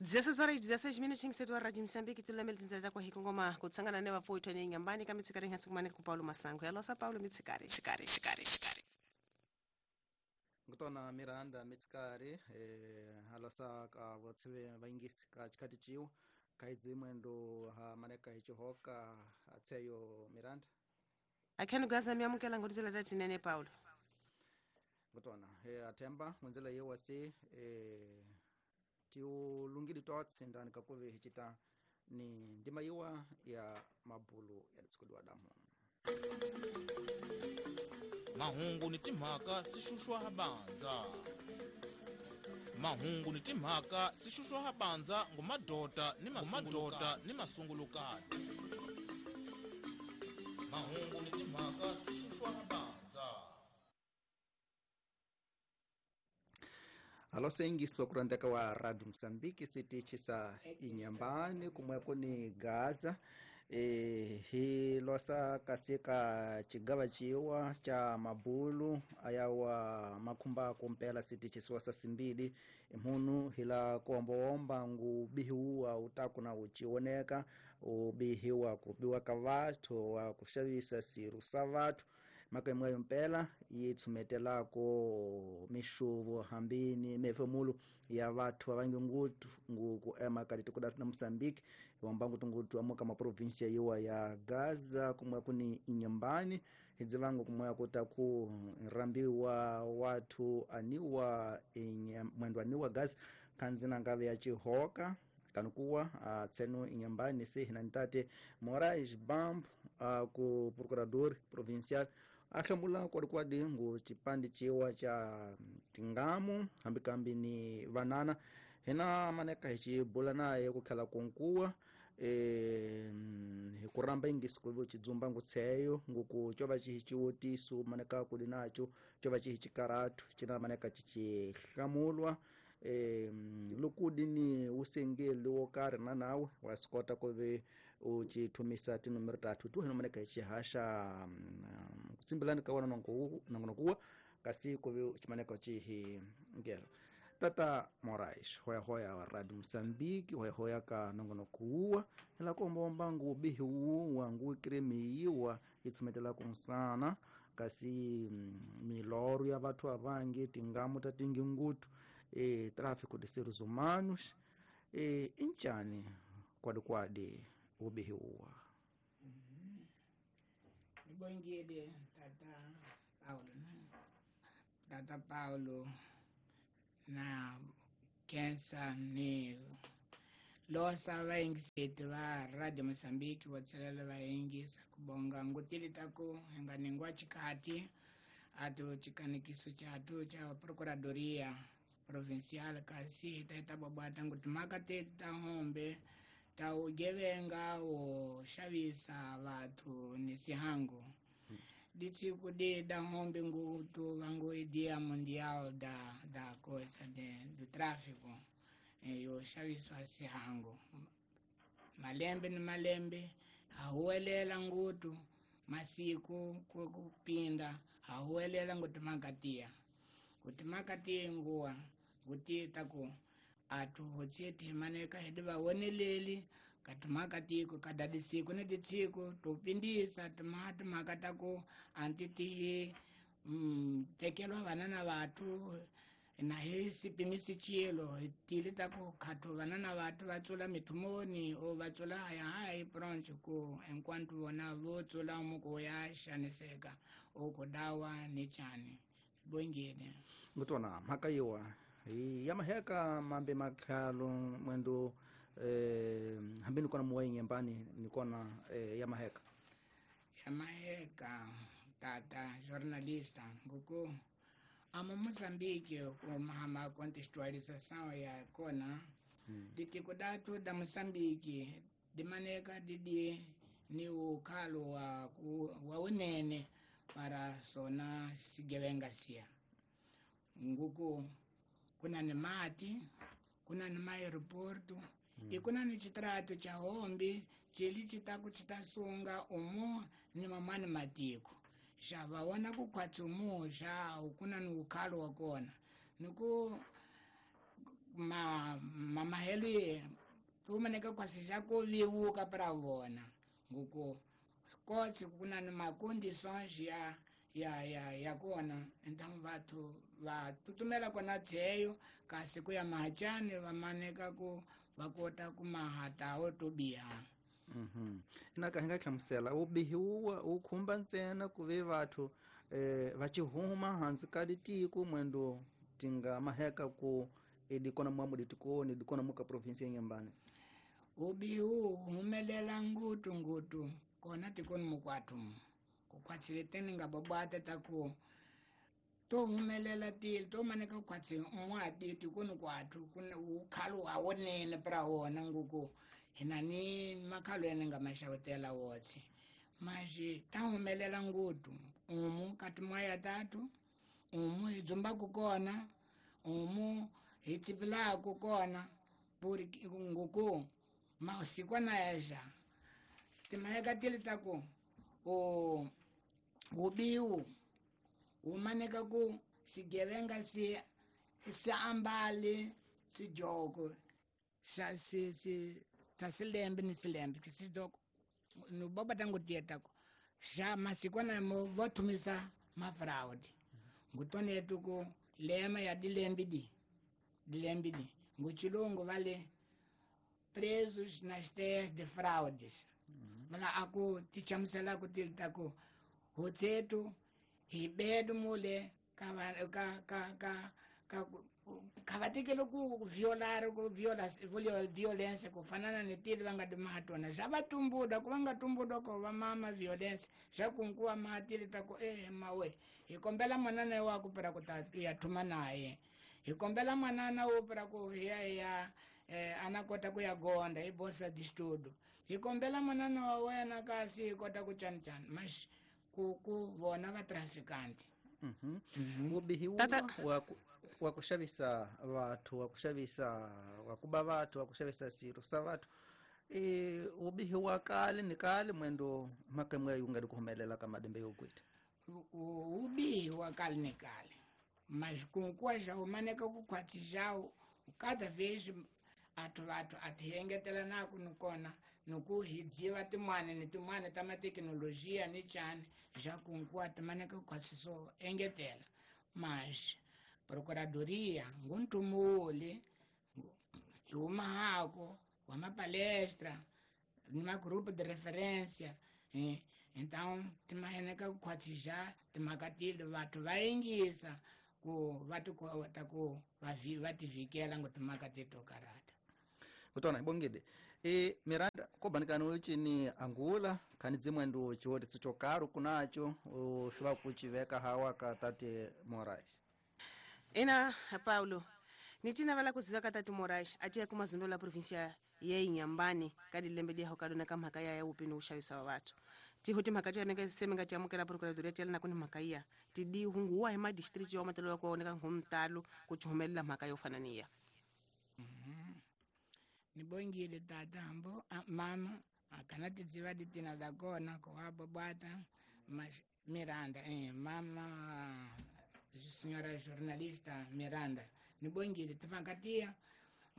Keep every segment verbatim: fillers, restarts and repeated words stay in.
Dezesseis horas e dezesseis minutinhos, setu wa Radio Moçambique, tulamele tinzela kwa hikongoma kutsangana ne vapfo ithone nyambani ka mitsikari ngatsi ku Paulo Masango. Ya losa Paulo mitsikari, tsikari, tsikari, tsikari. Ngutona Miranda mitsikari eh alosa ka votsve vaingisi ka chikati chiwo kaidzi mwendo ha maneka hichihoka atseyo Miranda. Akhenu gaza miamukela ngotizela tatinene Paulo. Ngutona eh athemba munzela yewasi eh tiu lungili tots ndani kakuve hichita ni ndima yiwa ya mabulu ya tsikudwa damu. Mahungu ni timhaka sishushwa habanza. Mahungu ni timhaka sishushwa habanza ngumadota ni mamadota ni masungulukati. Mahungu ni timhaka sishushwa habanza. Alo sengiswa kurandeka wa Radio Msambiki sitichi sa inyambani kumweko ni Gaza. E, hi losa kasika chigawa chiwa cha mabulu ayawa makumba kumpela sitichi siwasa simbili imhunu hila kuombaomba ngu bihiwa utaku na uchioneka ubihiwa kubiwa kavatu wa kushavisa siru savatu maka mpela yitsumetelako mishuvo hambini mefemulu ya vathu avangi ngutu nguku ema kati na Mosambiki wamba ngutu ngutu amuka ma provincia yiwa ya Gaza kumwe kuni inyambani hidzivangu kumwe kutaku rambiwa watu aniwa mwendo aniwa Gaza kanzina ngave ya chihoka kanukuwa uh, tsenu inyambani si hinantate Moraes Bambo uh, ku procurador provincial ahlamula kwadikwadi ngu chipandi chiwa cha tingamu hambikambi ni vanana hina maneka hichibula naye kukhala kunkuwa e, hikuramba ingisi kuvo chidzumba ngutseyo nguku chova chihichiwotisu maneka kuli nacho chova chihichikaratu china maneka chichihlamulwa e, lukudi ni usengeli wokari na nawe wasikota kuve uchithumisa tinumero tatu tu hino maneka hichihasha kutsimbilani kawana nangonokuwa kasi kuve chimaneka chihi ngelo Tata Moraes hoya hoya wa Radio Mosambiki hoya hoya ka nongonokuwa ila komba ngu bihiwa ngu kremiwa itsumetela kunsana kasi miloro ya vathu avangi tingamu tatingi ngutu e tráfico de seres humanos e inchani kwadi kwadi ubihiwa. Nibongile Tata Paulo Tata Paulo na kensa ni losa vaingiseti va Radio Mosambiki vatsalela vaingisa kubonga ngutili taku hinganingwa chikati atu chikanikiso chatu cha procuradoria provincial kasi hitaita babwata nguti maka teti ta hombe ta ugevenga wo xavisa vathu ni sihangu hmm. Ditsiku de da hombe ngutu vangu dia mundial da da coisa de do tráfico yo xaviswa sihangu malembe ni malembe hahuwelela ngutu masiku kupinda hahuwelela nguti makatia kuti makatia nguwa kuti taku atu hotseti maneka hedi vawoneleli katimakatiko kadadisiku ni titsiko topindisa timati makatako antitihi mm, tekelwa vanana vathu na hi sipimisi chilo tili taku khathu vanana vathu va tsula mithumoni o va tsula haya hayi bronch ku enquanto vona vo tsula muko ya xaniseka o ku dawa ni chani bongene ngutona mhaka yiwa ya maheka mambe makhalo mwendo eh hambi nikona muwa nyembani nikona eh, ya maheka ya maheka tata jornalista nguku amo Mozambique kumahama contextualização ya kona hmm. Ditiko datu da Mozambique dimaneka didi ni ukhalo wa wa unene para sona sigevenga sia nguku kuna ni mati kuna ni aeroporto mm. Ikuna ni chitrato cha hombi chili chitaku chitasunga umo ni mamani matiko xa vaona ku khwatsi umo xa kuna ni ukhalo wa kona niku ma mamahelo ye tumaneka kwasisha ku vivuka para vona nguku kotsi kuna ni macondições ya ya ya ya kona então vathu va tutumela kona tseyo kasi ku ya mahachani va maneka ku va kota ku mahatawo to biha. Mhm. Ina ka hinga hlamusela ubihi wu khumba ntsena ku ve vathu eh va chihuma hansi ka ditiko mwendo tinga maheka ku edikona mwamu ditikoni dikona muka province ya Nyambane. Ubihi wu humelela ngutu ngutu kona tikoni mukwatu kukhwatsileteni nga babwata ta ku to humelela tili to maneka kukhwatsi n'wati tikoni kwathu kuna ukhalo wa wonene pra wona nguku hina ni makhalo yene nga maxavutela wotsi maxi ta humelela ngutu umu kati mwaya tatu umu hi dzumbaku kona umu hi tsipilaku kona puri nguku mausikwana yaxa timaheka tili ta ku o ubiwu umaneka ku sigevenga si si ambali sijoko sa si si sa silembe ni silembe kisijoko no baba tangu tieta ko xa masikwana mo va thumisa mafraud ngutone yetu ku lema ya dilembe di dilembe di nguchilungu vale presos nas terras de fraudes. Vala aku tichamusela ku tilta ku hotsetu hi bedu mule ka ka ka ka ka ka vatekele ku violar ku viola violência ku fanana ni tili va nga timahatona xa va tumbuda ku va nga tumbuda ko va mama violência xa kunkuwa mahatili ta ku eh mawe hi kombela manana wa ku para ku ta ya thuma naye hi kombela manana wo para ku ya ya eh ana kota ku ya gonda hi bolsa de estudo hi kombela manana wa wena kasi hi kota ku chanchan mas ku ku vona va traficante. Mhm. Ubihi wa wa kuxavisa vathu wa kuxavisa wa kuba vathu wa kuxavisa siro sa vathu e ubihi wa kale ni kale mwendo makemwe yunga di kuhumelela ka madembe yo kwita. Ubihi wa kale ni kale mas kunkuwa xa umaneka ku khwatsi xawo cada vez athu vathu athihengetela naku nikona niku hi dziva tin'wana ni tin'wana ta mathekinolojiya ni chani xa kunkuwa timaneka ku so engetela mas procuradoria nguntumuli hi humahako wa mapalestra ni magrupo de referência eh? Então timaheneka ku khwatsisa timhaka tili vathu va yingisa ku va ti kota ku va va tivikela ngo timhaka teto karata. Kutona ibongede e Miranda kobanikani uchini angula khani dzimwendo chiwote tsichokaru kunacho ushuva kuchiveka hawa ka tate Moraes. Ina Paulo nitina vala kuziva ka tate Moraes atiya kumazundo la provincia ya Inhambane ka dilembe dia hokadona ka mhaka ya upini uxavisa wa vathu tiho timhaka ti yameka semenga ti amukela procuradoria ti yalana kuni mhaka iya ti di hunguwa hi madistrict yo matelo ya kuoneka ngomtalo ku chumelela mhaka yo fana niya. Nibongile tata hambo mama akana tidziva ditina la kona ko ababata mas Miranda eh mama senhora jornalista Miranda nibongile timakatia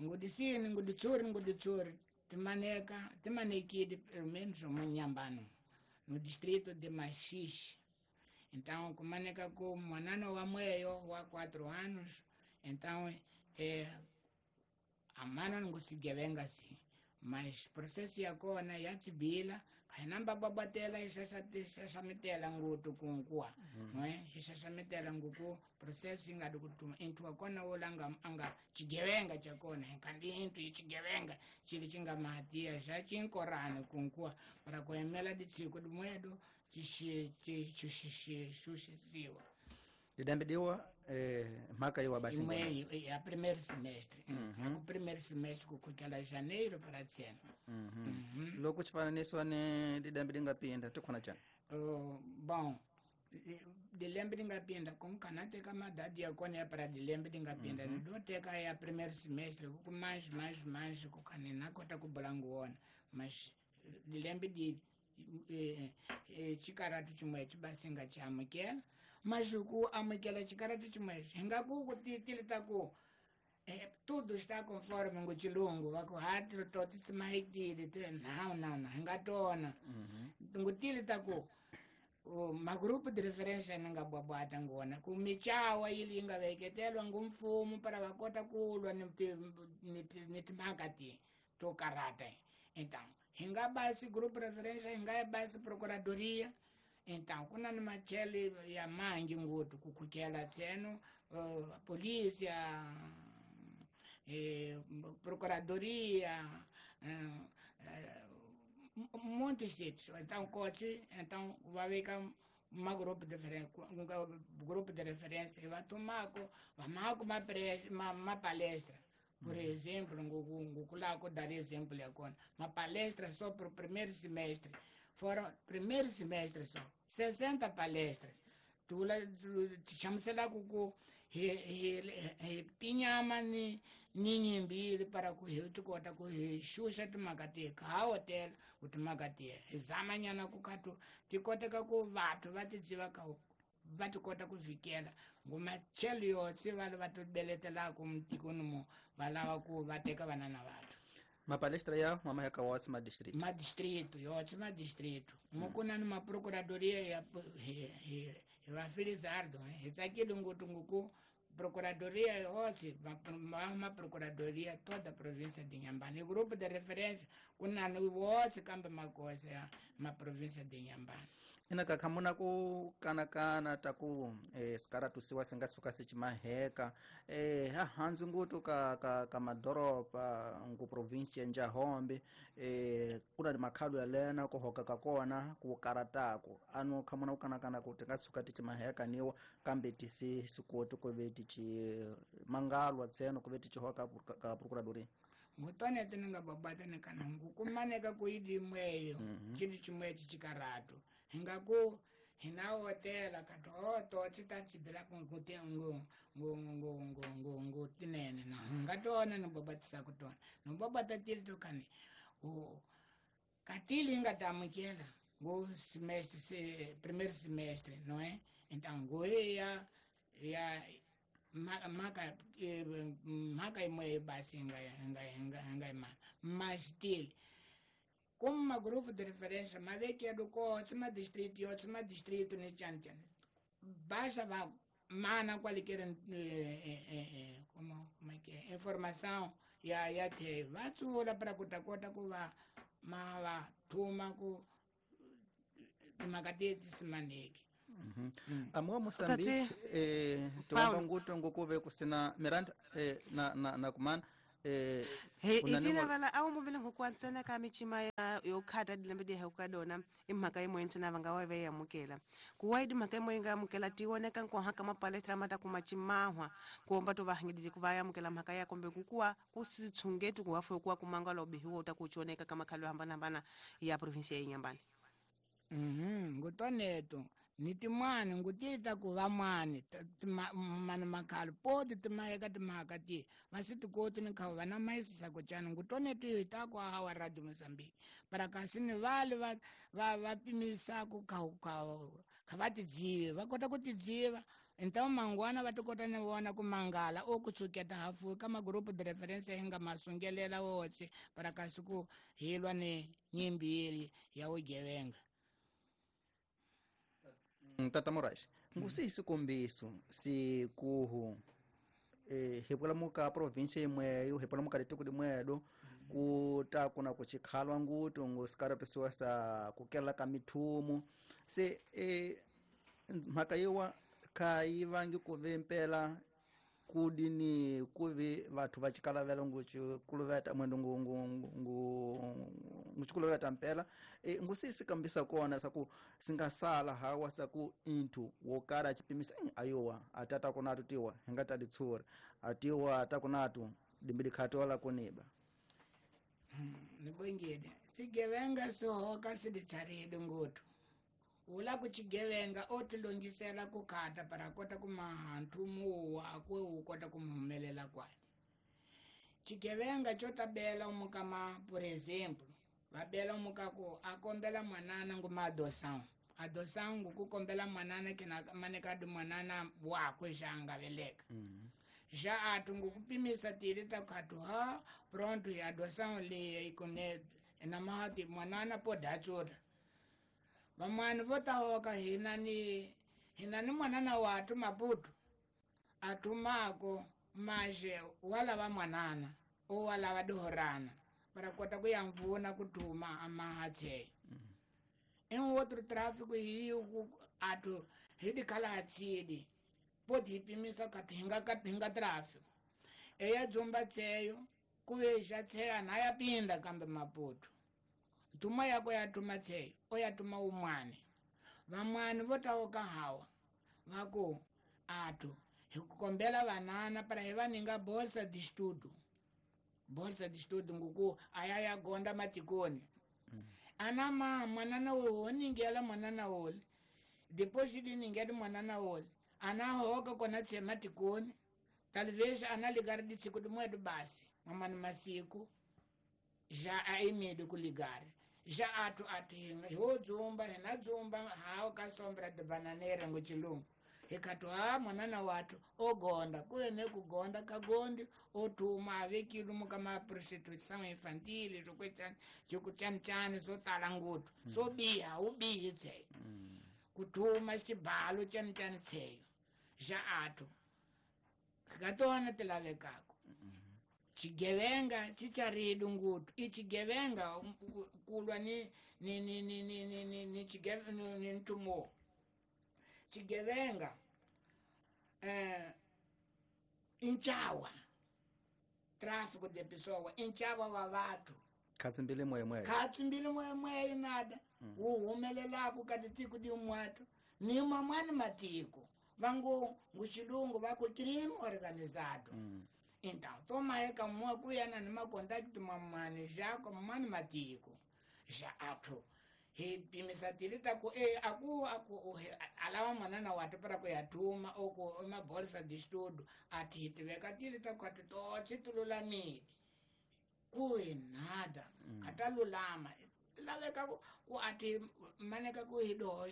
ngudisini nguditsuri nguditsuri timaneka timanekile pelo menos munyambano no distrito de Maxixe. Então kumaneka ku mwanano wa mweyo wa quatro anos então eh amana ngusigevenga si mas processo ya kona ya tsibila kainamba babatela isasamitela ngutu kunkuwa mm. eh isasamitela nguku processo ingadi kutuma intu akona wolanga anga chigevenga chakona kandi intu ichigevenga chili chinga mahatia xa chinkorana kunkuwa para kuemela ditsiko dimwedo chishi chishi Didambidiwa eh mhaka yiwa basi imwe ya primeiro semestre. Mm-hmm. O primeiro semestre kukela janeiro para tsena. Mm-hmm. Mm-hmm. Loko chifananiso ne didambi ngapinda tikhona chana. Uh, bom dilembe ngapinda konkana teka madadi ya kona ya para dilembe ngapinda mm-hmm. Ndo teka ya primeiro semestre ku mais mais mais kukane nakota kubulanguona mas dilembe di eh, eh, chikaratu chimwe chibasinga chamukela mas ku amukela chikaratu chimwe hinga ku ku tilita ku É, tudo está conforme o chilungu va ku hati to tsimahekile te não não não nga tona ngutile ta ku magrupo de referência nga bwabwata ngona ku michawa ili nga veketelwa ngumfumo para va kota ku lwa ni ni timhaka ti to karata. Então hinga basi grupo de referência hinga basi procuradoria. Então kuna ni machele ya mangi ngutu kukhukela tseno uh, polícia eh, procuradoria eh, eh, muitos sítios. Então coche, então vai ficar um grupo de referência, um grupo de referência e vai tomar vai marcar uma uma, uma palestra. Por exemplo, um dar exemplo agora, uma palestra só para o primeiro semestre. Foram primeiro semestre só sessenta palestras. Tu lá chama-se lá com pinyama ni ni para ku kota ku xuxa timhaka ti ka hotel ku timhaka ti hi zamanyana ku katu ti koteka ku vathu va ti dziva ka va ti kota ku vikela ngumachelo yotse va va ti beletelaka mutikoni mo va lava ku va teka vana na vathu. Mapalestra ya mama ya kawatsi ma distrito. Ma distrito, yotse ma distrito. Mukuna ni ma procuradoria ya hi va Felizardo, hi tsakile ngopfu nguku procuradoria yotse ma ma procuradoria toda a província de Inhambane. Grupo de referência kuna ni wotse kambe makosa ya ma província de Inhambane. Ina ka khamuna ku kanakana ta ku eh, sikaratusiwa singa suka sicimaheka eh, hahandzi ngutu ka, ka, ka madoropa ngu província Njahombe eh, kuna ni makhalu ya lena ku hoka ka kona ku karataku anu khamuna ku kanakana ku tinga suka ticimaheka niwa kambe tisi sikoti ku ve tici mangalwa tseno ku ve tici hoka ka procuradoria. Ngutone tinga babata ni kana ngukumaneka ku idimweyo chili chimwe chikaratu hingaku hina hotela kato to tita tsibela ku ngute ngu ngu ngu ngu ngu ngu tinene na ngatona no babatisa kutona no babata tili to kani o katili ngatamukela ngu semestre se primeiro semestre não é? Então ngu ya ya maka maka imwe basi nga nga nga nga mana mas tili como uma grupo de referência, mas é que é do coach, uma distrito, e outro, uma distrito, né, tchan, tchan. Baixa, vai, mana, qualquer, eh, eh, eh, como, como é que é, informação, e aí, até, vai, tsula, para kuta, kota, ku, va, ma, va, tuma, ku, timakati, simaneki. Amuwa Moçambique, eh, tiwamba ngutu, ngukuve, kusina, Miranda, eh, na, na, na kumana, he itina vala awu muvile ngokwantsena ka michima ya yokhata dilembe di hekadona imhaka yimwe ntsena va nga wa ve yamukela kuwaidi mhaka yimwe nga amukela tioneka nkoha ka mapalestra mata kuma chimahwa kuomba to vahangidije ku va yamukela mhaka ya kombe kukuwa kusitshungeti ku hafu kuwa kumangala obihiwa uta kuchoneka kama khalo hambana hambana ya provinsia ya Inhambane. Mhm ngutoneto ni timani ngutita ku va mani mani makhalo poti timaheka timhaka ti va si tikoti ni kha va na maisisa ku cana ngutoneto hi ta ku hawa Radio Mozambique para kasi ni vale va va va pimisa ku kha kha kha va tidzive va kota ku tidziva. Então mangwana va tikota ni vona ku mangala o ku tsuketa hafu ka magrupo de referência hi nga masungelela wotse para kasi ku hilwa ni nyimbili ya vugevenga. Tata Moraes, ngusi isikombiso sikuhu eh hipula muka província imweyo hipula muka litiko limwedo kuta kuna kuchikhalwa ngutu ngusikaratusiwa sa kukela ka mithumu se eh mhaka yiwa khayivangi kuve mpela kudini kuve vathu va chikalavela nguchikuluveta mwendo ngu ngu ngu nguchikuluveta mpela e ngusisi kambisa kona saku singasala hawa saku inthu wokara chipimisa ayowa atata kunatu tiwa hingata litsura atiwa atakunatu dimbili khatola kuniba nibongile sigevenga sihoka siditsharile ngothu ula kuchigevenga otilongisela kukhata para kota kumaha nthumu wa akwe u kota kumuhumelela kwale chigevenga chotabela umukama por exemplo vabela umukaku akombela mwanana nguma adoção adoção ngukukombela mwanana kina manekadi mwanana wakwe xanga veleka mm -hmm. Já atu ngukupimisa tili takatu ha pronto ya adoção li ikone na mahati mwanana po dachoda vamwana vo tahoka hina ni hina ni mwanana watu Maputo atumako maje wala va mwanana o wala va dohorana para kota ku ya mvuna kutuma amahache. Em outro tráfico hiyo atu hidi kala hatsidi poti hipimisa kati hinga kati hinga tráfico eya dzumba tseyo kuveja tseya naya pinda kambe Maputo ntuma yako yatuma tseyo oyatuma umwane vamwane votaoka hawa vaku atu hikukombela vanana para hivaninga bolsa de estudo bolsa de estudo nguku aya yagonda matikoni. Mm. Ana ma mwanana wo ningela mwanana wole depois de ningela mwanana wole ana hoka kona tse matikoni talvez ana ligar de tsiku de moedo basi mamani masiku já aimido ku ligar já atu atinga ho dzumba hena dzumba hao ka sombra de bananeira ngo chilungu hikatu ha mwanana watu ogonda kuye kugonda kagondi otuma avekilu mukama prostituição infantil zokwetani jokuchanchani zotala ngutu. Mm. So biha ubihi tseyo. Mm. Kutuma xibalo chanchani tseyo já atu katona tilavekako. Mm. Chigevenga chicharidu ngutu ichigevenga kulwa ni ni ni ni ni ni ni ni chigevenga ni ntumo chigevenga eh inchawa tráfico de pessoa inchawa wa watu khatsimbile moya khatsimbile moya moya nada. Mm. Uhumelelaku katitiku di umwatu ni mamani matiko vangu nguchilungu vako crime organizado. Mm. Então toma eka mwa kuyana ni makontakti mamani jako mamani matiko ja atu he pimisa tilita ku e aku aku alawa mwanana watu para ku yatuma oko ma bolsa de estudo ati tiveka tilita ku to chitululamidi ku nada. Mm. Atalulama laveka ku ati maneka ku hido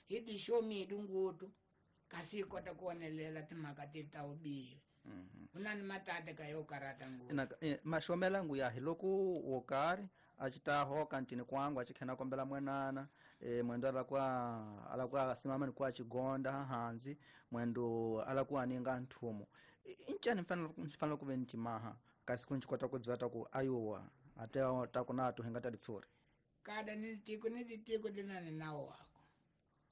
hidi show me dungutu kasi kota kuonelela timhaka tilita ubihi. Mm -hmm. Unani matata ka yo karata ngutu na eh, mashomela ngu ya hiloko wokari achitaho kantini kwangu achikhena kombela mwanana e, mwendo alakwa alakwa simama ni kwa chigonda hanzi mwendo alakwa aninga nthumo inchani mfanelo mfanelo kuve nchimaha kasi kunchikwata kudzivata ku ayowa ate takunatu hingata litsuri kada ni tiko ni tiko dinani nawo wako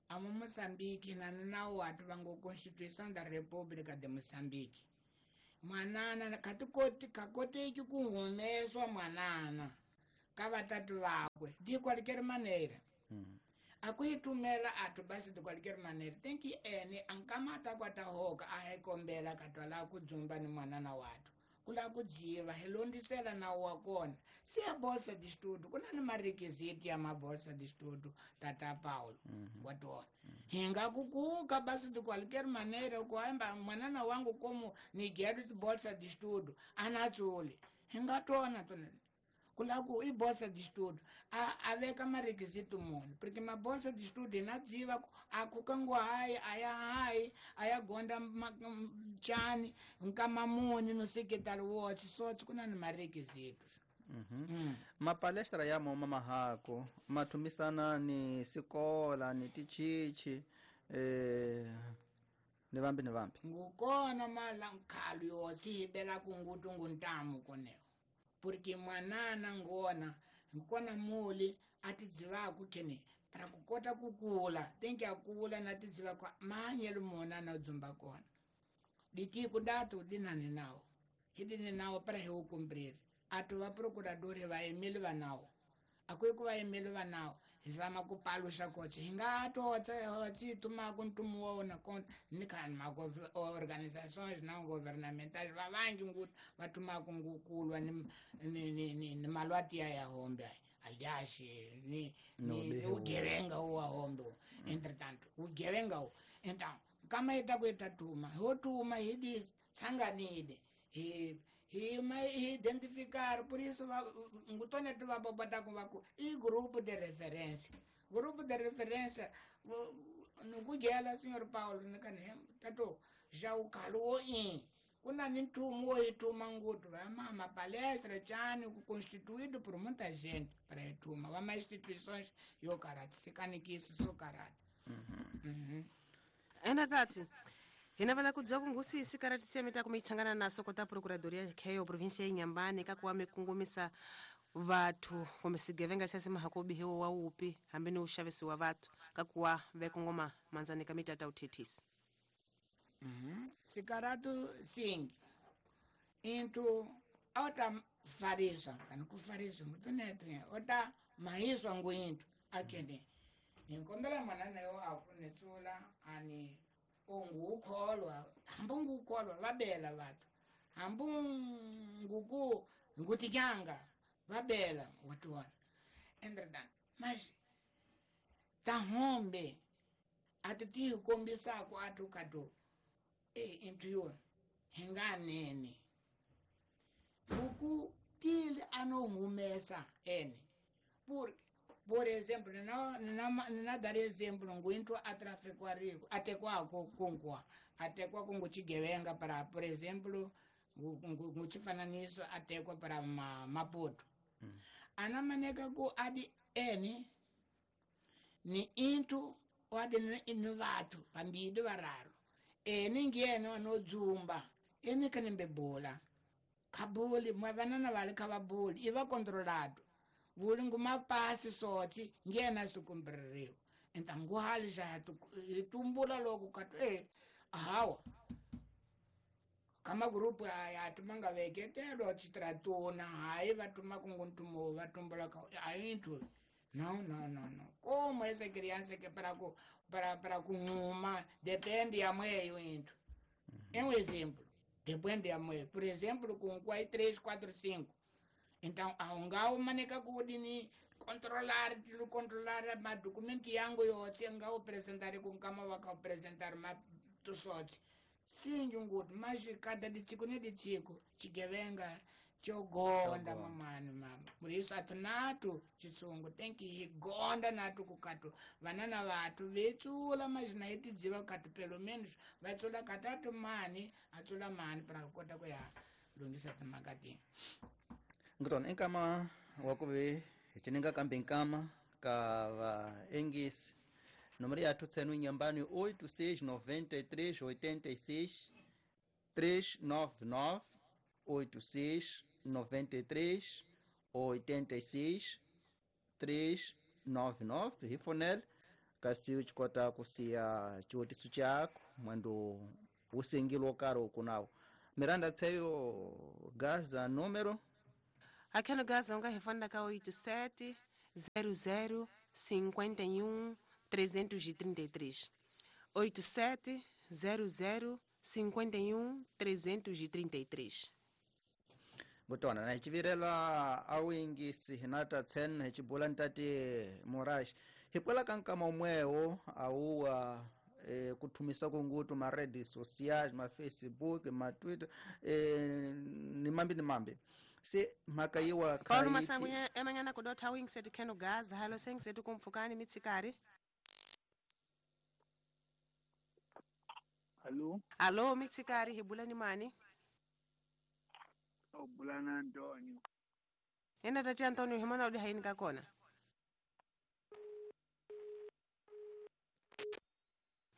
amo Moçambique na nawo watu vangu Constituição da República de Moçambique mwanana katikoti kakoteki kuhumeswa mwanana ka vatatu vakwe de qualquer maneira. Mm. Akuitumela atu basi de qualquer maneira tem que ene ankamata kwatahoka ahekombela katwala kudzumba ni mwanana watu kula kudziva hilondisela na wakona si a bolsa de estudo kuna ni marequisito ya mabolsa de estudo tata Paulo. Mm -hmm. Watona. Mm -hmm. Hinga kukuka basi de qualquer maneira kuamba mwanana wangu como ni quero bolsa de estudo anatsuli hingatona tona kulaku i bolsa de estudo a aveka marequisito muni porque ma bolsa de estudo inadziva akukango hai aya hai aya gonda chani nkamamuni no secretary watch so kuna ni marequisitos. Mm -hmm. Mm. Mapalestra ya moma mahako matumisana ni sikola ni tichichi eh ni vambi ni vambi ngukona mala nkhalu yotsibela kungutu nguntamu koneo porque mwanana ngona ngikona muli atidzivaku kene para kukota kukula tenke akula natidziva kwa manyelo mona na dzumba kona ditiko datu dinani nawo hidini nawo para hiukumbriri atu va procurador va emile va nawo akui ku va emile va nawo hisama kupalusha koche hinga totsa hotsi tuma kuntumu wona kon ni kan ma organizações não governamentais va vangi ngut vatuma kungukulwa ni ni ni ni malwati ya hombe aliás ni ni ugevenga wa hombe entretanto ugevenga então kama ita kuita tuma hotuma hidi tsanganide he he mai identificar por isso ngutone tu vabobata ku i grupo de referência grupo de referência nukugela senhor Paulo nikane tato já o calou em Kuna ni ntumu wo ituma ngutu va mama palestra chani constituído por muita gente para ituma va mais instituições yo karate sikanikisi so karate. Uhum. Ena tati hina vala kudziwa kungusi sikarati siameta kumitsangana naso kota procuradoria kheyo província ya Inhambane kakuwa mikungumisa vathu kumbe sigevenga siasi mahakobihiwo wa upi hambi ni uxavisi wa vathu kakuwa vekongoma manzani ka mitata uthethisi. Uhum. Sikaratu singi into ota fariswa kana kufariswa mutunetu ota mahiswa nguintu akene ninkombela mwana nayo akunetsula ani ongukholwa hambu ngukholwa vabela vathu hambu nguku ngutikyanga vabela watuwana entretanto mas tahombe ati tihikombisako atu katu e into yo hinganene buku tili anohumesa ene por por exemplo na na na dar exemplo nguinto atrafikwariku atekwako kunkwa atekwa kunguchigevenga para por exemplo nguchifananiso atekwa para ma, Maputo. Mm. Anamaneka ku adi ene ni into adi ni vathu vambili vararu ene ngiyena anodzumba ene kanembebola khabuli mwe vanana vali khavabuli iva controlado vuli ngumapasi soti ngiyena sikumbririwa então nguhali já tumbula loko katu eh hawa kama grupo ya tumanga veketelo chitratuna hayi vatuma kunguntumo vatumbula ka ayintu no no no no como essa criança que para para para kuma depende ya mweyo into. É um exemplo depende ya mweyo por exemplo com quatro três quatro cinco então aungao maneka kudini controlar controlar ma documento yangu yotse ngao apresentar com kama vaka apresentar ma tusotse singi nguti mas cada ditsiko ne ditsiko chigevenga chogonda mamani mama por isso atinatu chitsungu tem que higonda natu kukatu vanana vatu vetsula mas na itidziva katu pelo menos vatsula katatu mani atsula mani para kota kuya lungisa timakati ngutona enkama wakuve chininga kambe nkama ka va engisi número ya tsenu Inhambane oito seis nove três oito seis três nove nove oito seis nove três oito seis três nove nove rifonel kasi uchikota kusiya chiotiso chako mwando usengilo karo kunawo Miranda tseyo Gaza número akheno Gaza unga rifonda ka oito sete zero zero cinquenta e um trezentos e trinta e três oito sete zero zero cinquenta e um trezentos e trinta e três. Botona na hichivirela awingisi hinata tsen hichibula ntate Moraes hikwela kankama umwewo auwa e, kuthumisa kungutu ma redes sociais ma Facebook ma Twitter e, ni mambi ni mambi se mhaka yiwa Paulo Masangu emanyana kudotha wingset kheno Gaza halo sengset kumfukani mitsikari. Allo. Allo mitsikari hibula ni mani? Obulana Antonio. Ena tati Antonio himona udi haini kakona.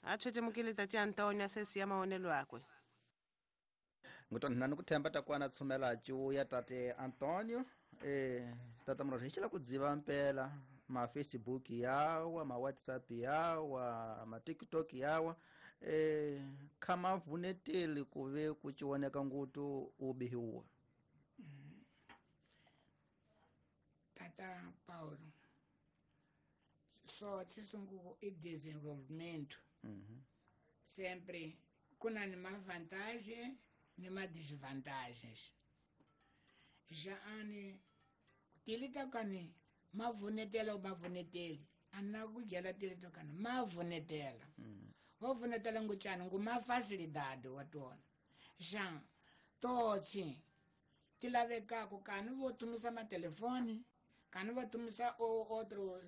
Atshwete mukile tati Antonio asesi ya maonelo akwe. Ngutona nani kuthemba takwana tshumela ya tate Antonio eh tata mrori hichila kudziva mpela ma Facebook yawa ma WhatsApp yawa ma TikTok yawa eh kama vuneteli kuve kuchioneka ngutu ubihiwa. Tata Paulo so tsisungu e desenvolvimento. Uhum. Sempre kuna ni ma vantagem ni ma desvantagens. Já ani tilita kani mavunetela o mavuneteli ana kujela tilita kani mavunetela. Mm. Wavunetela nguchani nguma facilidade watona. Já totsi tilavekako kani votumisa matelefone kani votumisa o outro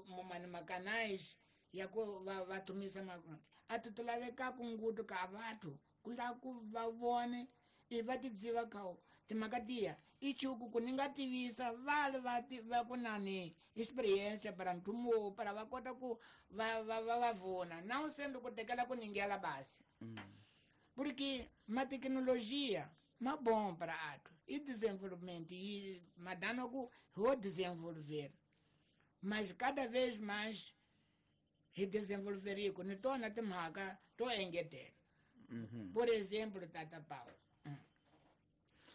mumani macanais ya ku vatumisa makundi atu tilavekako ngutu ka vatu Kula ku va vone i va tidziva kao timhaka tiya i chuku ku ni nga tivisa vale va va ku na ni experience para ntumo para va kota ku va va va va vona na u sendo ku tekela ku ningela basi mm. Porque ma tecnologia ma bom para ato e desenvolvimento e madano ku ho desenvolver mas cada vez mais e desenvolver ku ni tona timhaka to engetela. Mm-hmm. Por exemplo, Tata Paulo.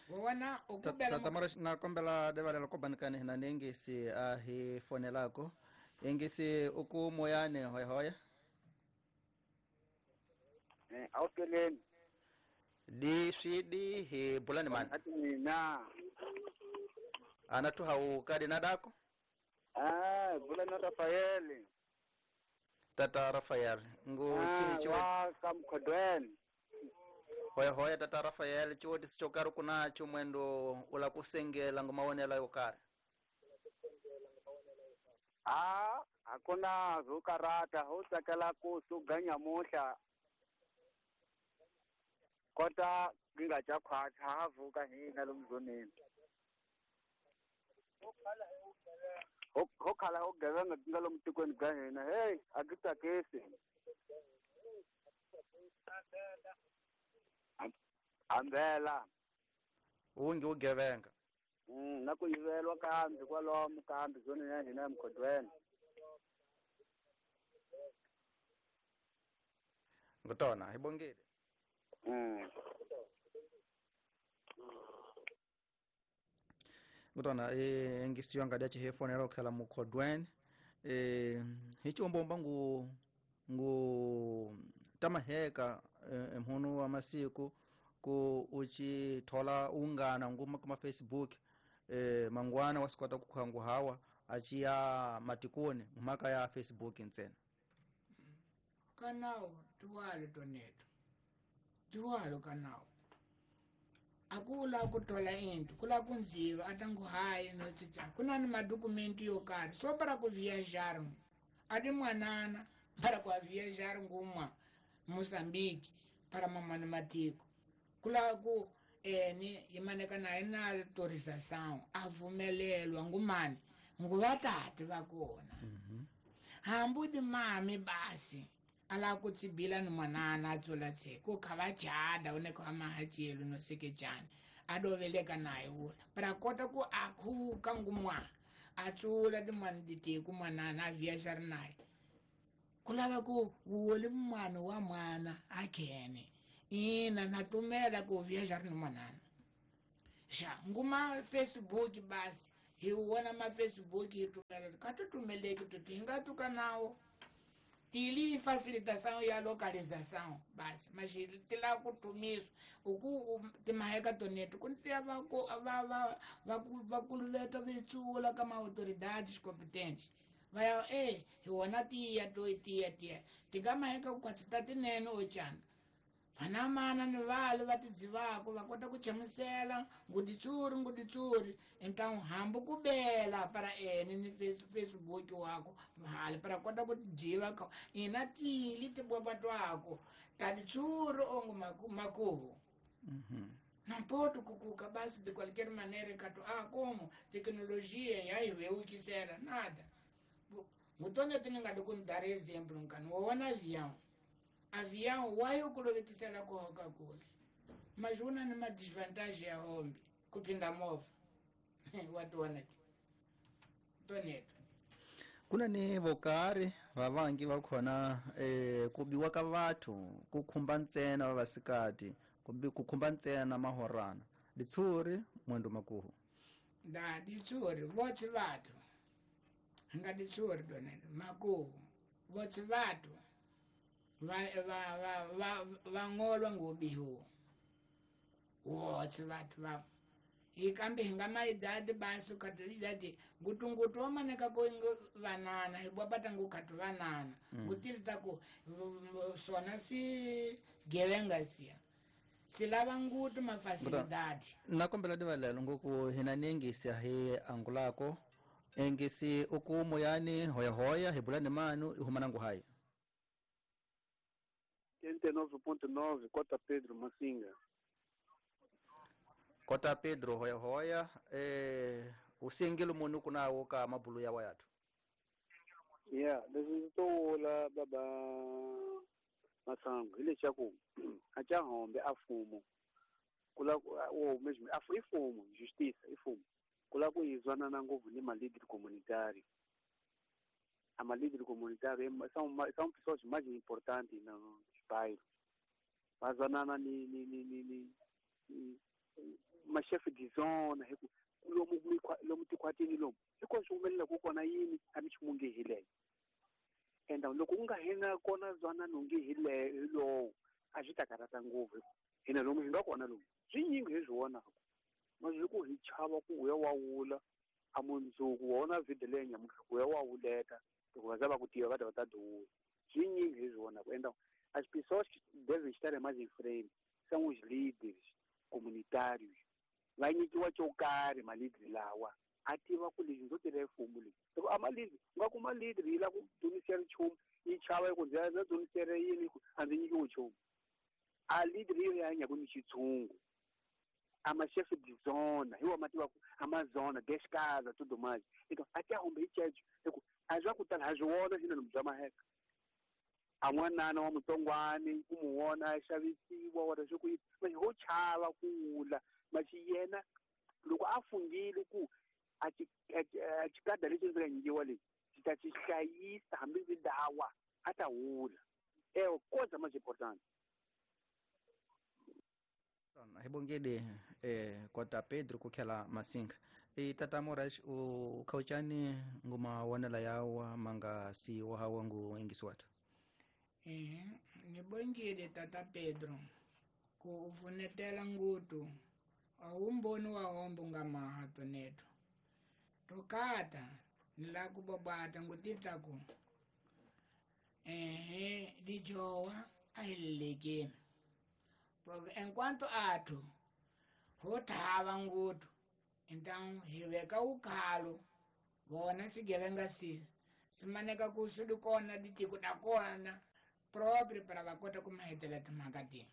Wona ukubela Tata Moraes na kombela devalela ko banikani hina nengisi a hi fonelako engisi uku moyane hoya hoya eh awukeleni di swidi hi bulani man na ana tu hau kadi nadako ah bulani Rafael Tata Rafael ngu ah, chi wa kamkhodweni hoya hoya Tata Rafael chiwoti sichokari kunacho mwendo ula kusengela ngomawonela yokari ah hakuna zukarata ho tsakela ku suganya muhla kota ngingaja khwathi havuka hina lomzoneni ho khala ho gevenga nga lomtikweni bya hina hey akitsakisi ambela ungi ugevenga mm na ku yivelwa kambi kwalomu kambi zone ya hina emkhodweni ngutona hibongile mm ngutona eh ngisiyo ngadi chi hefonela okhela mukhodweni eh hichombomba ngu ngu tamaheka emhono wa masiku ku uchi thola ungana nguma kuma Facebook eh mangwana wasikwata kukhangu hawa achiya matikoni mhaka ya Facebook ntsena kanao tuwalo toneto tuwalo kanao akula kuthola into kula kunziwa atangu hayi notsitsa kuna ni madokumenti yo karhi so para ku viajar ati mwanana para ku viajar ngumwa Mozambique para mamani matiko kula ku eni yimaneka naye na autorização avumelelwa ngumani nguvatati va kona mm-hmm. Hambu di mami basi ala ku tsibila ni mwanana a tsula tse ku kha va jada une kha mahajelo no sekejani a doveleka naye wula para kota ku a khuka ngumwa a tsula timani ditiku mwanana a viajar naye kulava ku wole mwana wa mwana a khene ina na tumela ku viajar ni mwanana xa nguma Facebook basi hi wona ma Facebook hi tumela ka tutumeleki tuti hi nga tuka nawo tili facilitação ya localização basi mas ti la ku tumiswa uku timaheka toneto ku tiya va ku va va va va kuluveta vitsula ka ma-autoridades competentes va ya e hi wona tiya to tiya tiya ti nga maheka ku kwatsi ta tinene ocana vanamana ni vale va tidzivako va kota ku chamusela nguditsuri nguditsuri então hambi ku bela para ene ni Facebook wako hali para kota ku dziva ka ina tili tibwaba twako taditsuri ongo makuhu mm-hmm. Não pode kukuka basi de qualquer maneira kato ah como tecnologia ya iweukisela nada ngutone tiningadi kundar exemplo nkani wona avião avião wayo kulovetisela kuhoka kule mas una ni ma desvantagem ya hombi kupinda movha wationa toneto kuna ni vokari vavangi va khona eh ku biwa ka vathu ku khumba ntsena vavasikati ku khumba ntsena mahorana ditshuri mwendo makuhu da ditshuri votse vathu nga ditshuri toneto makuhu votse vathu va va va va vangolwa ngubihu wotse vathu va hi kambe hi nga maidadi basi ukatidadi ngutungutu wamaneka ku vanana hi bwapata ngukhatu vanana ngutili taku sona si gevenga siya silava ngutu mafasilidadi na kombela divalelo ngoku hina nengisi hi angulako engisi uku moyani hoya hoya hi bulani manu ihumana nguhayi. oitenta e nove ponto nove, Cota Pedro Massinga. Cota Pedro hoya hoya, eh usengelo munu kuna woka mabulu ya wayatu. Yeah, leswi to wula baba Masango hileswaku a ca hombe a fumo kula o mesmo a ifumo justiça ifumo kula ku izwanana ngopfu ni malíder comunitário. A malíder comunitário são são pessoas mais importantes nos bairros. Vazwanana ni ni ni ni ni ma chefe de zona lomu lomu tikwatini lomu hikuva swi humelela ku kona yini a mi nchumu nge hi leyo enda loko u nga hina kona zwanano nge hi lowo a swi ta karhata ngopfu hina lomu hi nga kona lomu swinyingi hi swi vonaka ma swi ku hi chava ku u ya wa wula a mundzuku wa wona video leyi nyamuntlha ku ya wa wuleka loko va za va ku tiva va ta va ta duvula swinyingi hi swi vonaka enda as pessoas que devem estar mais em frente são os líderes comunitários va nyikiwa xo karhi malidri lawa a tiva ku lexi ndzo tirha mfumo leyi loko a malidri u nga kuma lidri yi lava ku dzunisela nchumu yi chava ku ndzi ya dzunisela yini a ndzi nyikiwi nchumu a lidri yi hanya ku ni xitshungu a ma-chefe de zona hi wa ma tiva ku amazona descasa tudo mais então até humbe hi ceco hi ku a swa ku tala ha swi vona xinene bya maheka a n'wanana wa mutsongwani ku mu vona a xavisiwa wara swi ku yini ho chava ku wula maxi yena loko a fungile ku a xikada lexi ndzi nga nyikiwa lexi xi ta xi hlayisa hambi ndzi dawa a ta wula ewe coisa mais importante. Hi bongile eh Kota Pedro ku khela Masinga e tata Moraes u khauchani nguma wonela yawa manga si wa hawa ngu ingisiwata. Eh ni bongile tata Pedro ku ufunetela ngutu awumboni wa hombo nga maha toneto tokata ni la ku bobata ngutita ku eh lijowa ahilekeni porque enquanto athu ho thava ngutu então hi veka ukhalo vona swigevenga si simaneka ku swi kona ditiko ta kona próprio para va kota ku mahetela timhaka ti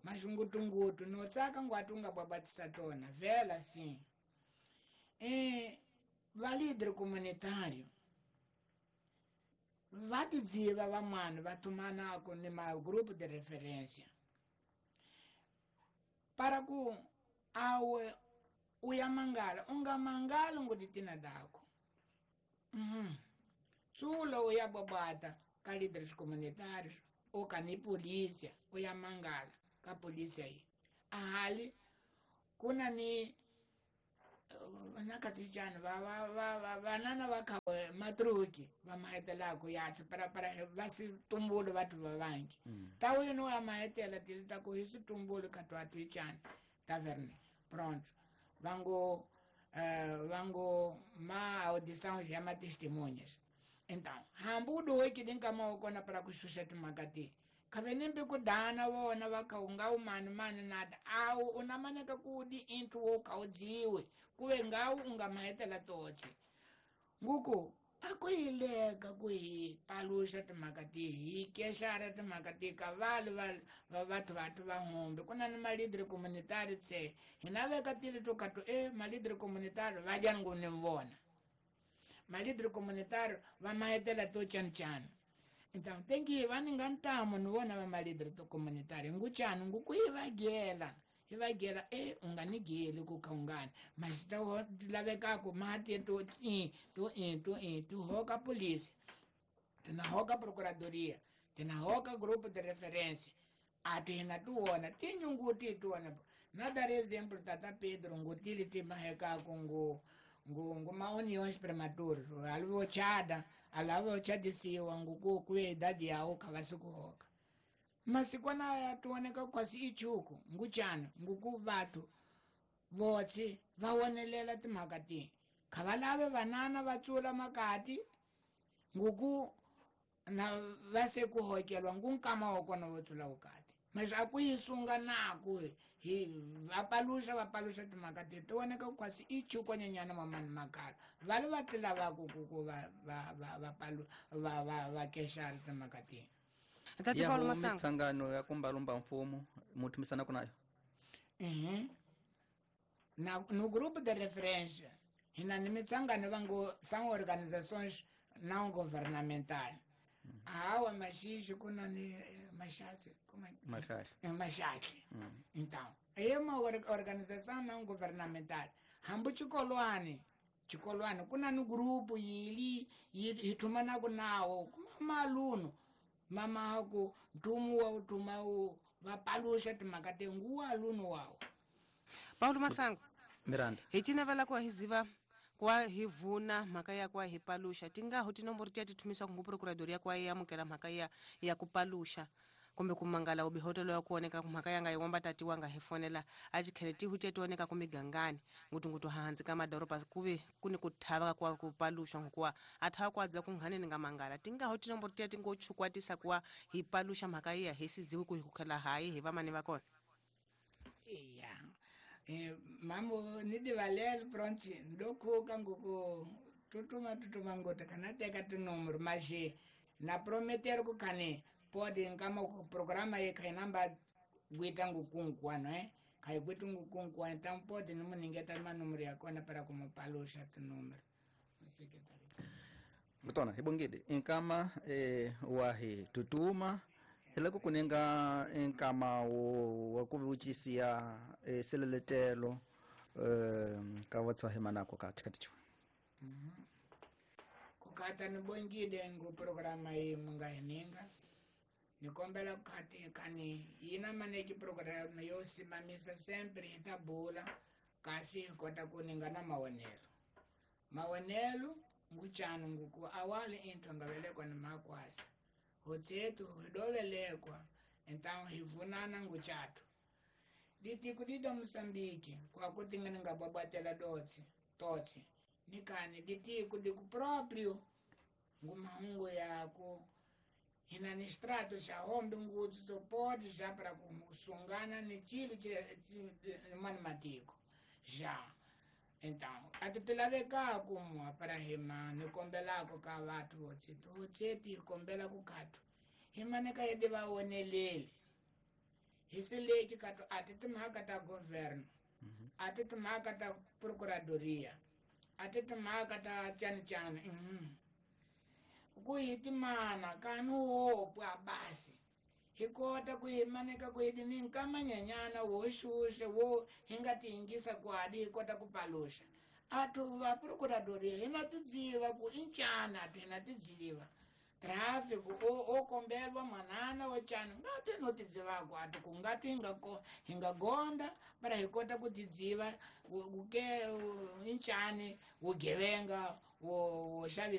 maxingutungutu no tsaka ngwati u nga bwabatisa tona vhela sim e va líder comunitário va tidziva van'wana va thumanako ni ma grupo de referência para ku awe u ya mangala u nga mangali ngutitina dako uhum. Tsulo u ya bobata ka líderes comunitários ou ka ni polícia u ya mangala ka polícia yi ahali kuna ni nakatichana va va va va vanana va kha matruki va mahetelako ya para para va si tumbulu vathu va vangi ta wena ya mahetela ti ta ku hi situmbulu ka twa twichana taverne pronto vango eh vango ma audição já ma testemunhas então hambudo weki dinka maokona para kushusha timhaka ti khavenembe ku dana vona va kha u nga u mani mani nada awu u na maneka ku di into wo kha u dziwe kuve ngawu u nga mahetela totse nguku a ku hileka ku hi paluxa timhaka ti hi kexara timhaka ti ka vale va va vathu vathu va humbe ku na ni malidri comunitari tse hina veka tili to kha to e malidri comunitari va dya ngu ni vona malidri comunitari va mahetela to chancana. Então tem que va ni nga ntamu ni vona va malidri to comunitari nguchani nguku hi va gela hi va gela e u nga ni geli ku kha ungani mas ta lavekako mati to i to i to i to hoka polícia tina hoka procuradoria tina hoka grupo de referência a tina tu wona tinyunguti tu wona na dar exemplo tata Pedro ngutili ti mahekako ngu ngu ngu ma uniões prematuras alvo chada alavo chadisiwa nguku ku idadi yawo kha va sikuhoka masikwana ya tuoneka kwasi ichuku nguchana nguku vathu votsi va wonelela timhaka ti kha va lave vanana va tsula makati nguku na va se ku hokelwa ngu nkama wa kona vo tsula vukati mas a ku yi sunga naku hi va paluxa va paluxa timhaka ti ti voneka kwasi ichuku nyenyana mamani makala va le va ti lavaku ku ku va va va va palu va va va kexara timhaka ti. Tati Ya Paulo ho Masango mitsangano ya kumbalumba mfumo muthumisana kunayo Uhum. Na, no grupo de referência, hina ni mitsangano vango são organizações não governamentais. Hawa maxixi kuna ni eh, maxaxi, como é que Maxaxi. É maxaxi. Então, é uma or- organização não governamental. Hambu chikolwani, chikolwani kuna ni grupo yili yi thumana nawo kuma maluno mama ku ntumu wa utuma u vapaluxa timhaka te nguwa aluno wawo. Paulo Masango Miranda hi cinavela kuwa hi ziva kuwa hi vuna mhaka ya kuwa hi paluxa tingaho tinomboro tiya ti thumisaka ngu procuradoria kuwa yi amukela mhaka ya ya ku paluxa kumbe ku mangala ubihotelo ya kuoneka ku mhaka yanga yiwomba tati wanga hi fonela a chikhele tihu tiya tioneka ku migangani ngutungutu hansi ka madoroba kuve kuni ku thava kuwa ku paluxa nkuwa a thava ku adziwa ku nghaneni nga mangala tingaho tinomboro tiya ti ngo chukwatisa kuwa hi paluxa mhaka iya hi siziwi ku hi kukhela hayi hi vamani va kona. Iya. Eh, mamo ni divalele pronto ndokhuka nguku tutuma tutuma ngota kana teka tinumero mas na prometer ku kane pode nkama ku programa ye kai namba gwita ngukunkuano eh kai gwita ngukunkuano então pode ni muningeta manumero ya kona para kumupalusha tinumero secretary. Ngutona hibongide inkama eh, wahi tutuma hiloko kuninga inkama wo wa ku vucisiya eh, seleletelo eh, ka vatswa himanako ka thikaticho. Kukata nibongile ngu programa yi mungahininga nikombela kukhati khani yina maneki programa yo simamisa sempre hi ta bula kasi hi kota ku ninga na mawonelo mawonelo nguchanu nguku awali into ngavelekwa ni makwasa hotsetu hi dovelekwa então hi vunana nguchatu ditiku dida Moçambique kwakuti nga ningabwabwatela dotsi totsi nikani ditiku diku próprio ngumahungu yako hina ni strato xa hombe ngutsu sopoti xa para kusungana ni chilo mani matiko xa então ati tilavekako mwa para hima ni kombelako ka vathu hotseti hotseti hi kombela ku khathu himane ka yedi va woneleli hi sileki khathu ati timhaka ta governo ati timhaka ta procuradoria ati timhaka ta chani mhm ku hi timana kani wopwa basi hi kota ku hi maneka ku hi ni nkamanyanyana wo xuxa wo hi nga ti yingisa kwadi hi kota ku paluxa athu va procuradoria hi na tidziva ku i ncana athu hi na tidziva tráfico o o kombelwa manana wo cana nga ti no tidzivako athu ku nga twi hi nga ko hi nga gonda para hi kota ku tidziva ku ke i ncani vugevenga wo wo xavisa.